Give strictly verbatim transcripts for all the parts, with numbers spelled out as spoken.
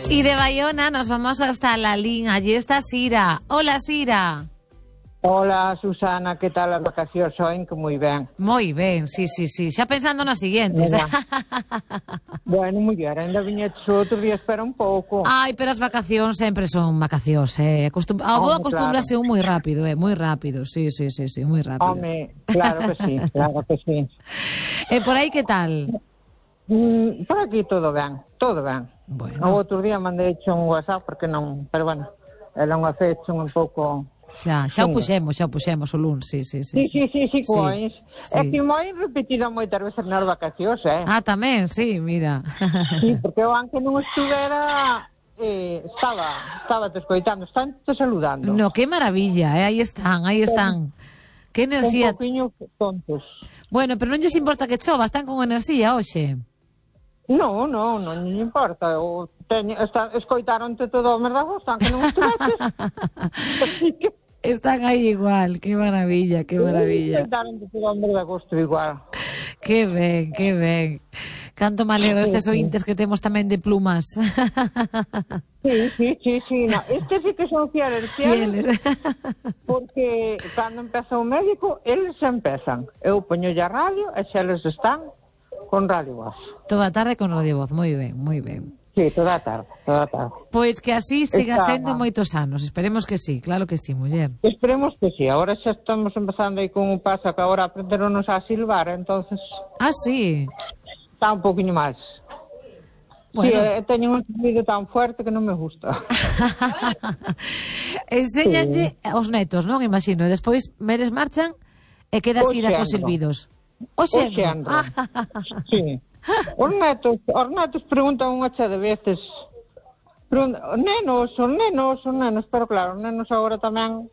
Y de Bayona nos vamos hasta Lalín. Allí está Sira. Hola, Sira. Hola, Susana, que tal as vacacións hoen? Que moi ben. Moi ben, sí, sí, sí. Xa pensando nas siguientes. Bueno, muller, ainda viñetes outro día, espera un pouco. Ai, pero as vacacións sempre son vacacións, eh. Acostum... A vos Home, acostúmbrase claro. un moi rápido, eh. Moi rápido, sí, sí, sí, sí, moi rápido. Home, claro que sí, claro que sí. E por aí que tal? Mm, por aquí todo ben, todo ben. Bueno. O outro día mandei un WhatsApp, porque non, pero bueno, era unha fecha un pouco... Xa, xa o puxemos, xa o puxemos o luns, sí, sí, sí. Sí, sí, sí, sí, cois. Sí. É que moi repetido moitas veces nas vacacións, eh? Ah, tamén, sí, mira. Sí, porque eu aunque non estuvera, eh, estaba, estaba te escoitando, están te saludando. No, qué maravilla, eh? Aí están, aí están. Que enerxía. Un poquinho tontos. Bueno, pero non lles importa que chova, están con enerxía hoxe. No, no, non lle importa. O teño, está, escoitaronte todo o merdazo, están que non estuveches. Así que... Están aí igual, qué maravilla, qué maravilla. Escoitaronte todo o merdagosto igual. Que ben, que ben. Canto me alegro estes ointes que temos tamén de plumas. Sí, sí, sí, sí. No. Estes sí que son fieles, fieles. Fieles. Porque cando empeza o médico, eles empezan. Eu poño a radio e xa eles están con Radio Voz. Toda a tarde con Radio Voz, moi ben, moi ben. Sí, toda a tarde, toda a tarde. Pois que así siga Está... sendo moitos anos, esperemos que sí, claro que sí, muller. Esperemos que sí, agora xa estamos empezando aí con un paso que agora aprenderonos a silbar, entonces... Ah, sí? Está un poquinho máis. Bueno. Sí, eh, teño un sonido tan fuerte que non me gusta. Enséñanlle sí. Aos netos, non? Imagino, e despois meres marchan e queda así da cos silbidos. O xendo. Sí. Os netos, os netos preguntan unha che de veces. Preguntan, nenos, os nenos, os nenos, pero claro, os nenos agora tamén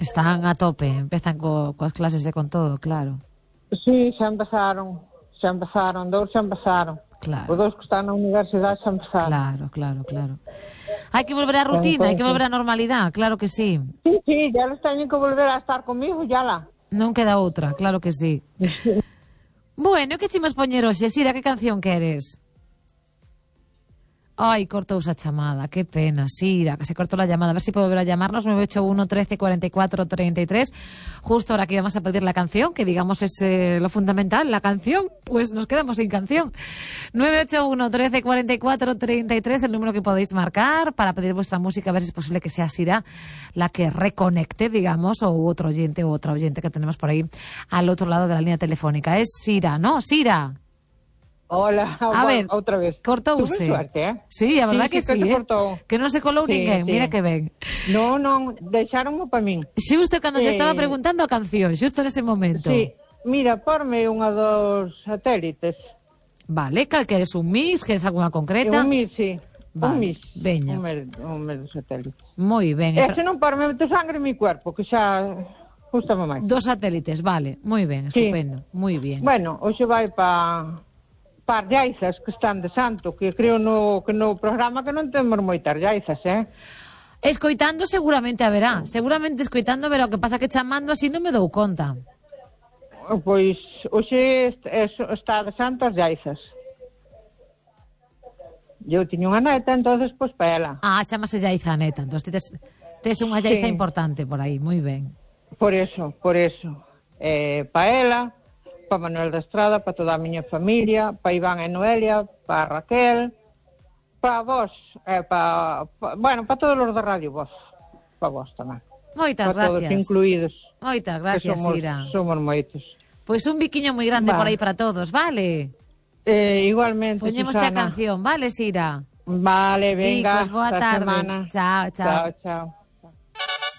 están a tope, empezan co, coas clases e con todo, claro. Sí, xa empezaron, xa empezaron, dous xa empezaron. Claro. Os dous que están na universidade xa empezaron. Claro, claro, claro. Hai que volver á rutina, hai que volver á normalidade, claro que sí. Sí, sí, ya les teñen que volver a estar comigo, ya la. Non queda outra, claro que sí. Bueno, que chimos poñer hoxe, Sira, que canción queres? Ai, cortouse a chamada, que pena, Sira, que se cortó la llamada. A ver si puedo volver a llamarnos, nueve ocho uno, trece, cuarenta y cuatro, treinta y tres. Justo ahora que íbamos a pedir la canción, que digamos es eh, lo fundamental, la canción, pues nos quedamos sin canción. nueve ocho uno, trece, cuarenta y cuatro, treinta y tres, el número que podéis marcar para pedir vuestra música, a ver si es posible que sea Sira la que reconecte, digamos, o otro oyente u otra oyente que tenemos por ahí al otro lado de la línea telefónica. Es Sira, ¿no? Sira. Hola, a ver, outra vez. Cortouse. Tuve suerte, eh? Sí, a verdad sí, que sí, sí, que eh? cortou. Que non se colou sí, ninguén, sí. mira que ben. No, non, deixáronmo para min. Xusto cando eh... se estaba Eh... preguntando a canción, xusto nese momento. Sí, mira, porme unha dos satélites. Vale, cal que eres un mix, que es alguna concreta? Un mix, sí. Vale, un mix. Veña. Un mes, un mes de satélites. Moi ben. E se non porme meto sangre en mi cuerpo, que xa gustame máis. Dos satélites, vale, moi ben, estupendo, sí. Moi bien. Bueno, hoxe vai pa... par llaizas que están de santo, que creo no, que no programa que non temos moitas llaizas, eh? Escoitando seguramente haberá, seguramente escoitando verá, o que pasa que chamando así non me dou conta. Pois hoxe está de santo as llaizas. Eu tiño unha neta, entonces pois pa ela. Ah, chamase llaiza a neta, entón tes, tes unha llaiza sí. importante por aí, moi ben. Por eso, por eso. Eh, pa ela, pa Manuel da Estrada, pa toda a miña familia, pa Iván e Noelia, pa Raquel, pa vos, eh, pa, pa, bueno, pa todos os da Radio Voz, pa vos tamén. Moitas pa gracias. todos incluídos. Moitas gracias, somos, Sira. Somos moitos. Pois un biquiño moi grande vale. por aí para todos, vale? Eh, igualmente, Poñemos Susana. a canción, vale, Sira? Vale, venga, Chicos, boa tarde. semana. Chao, chao. Chao, chao.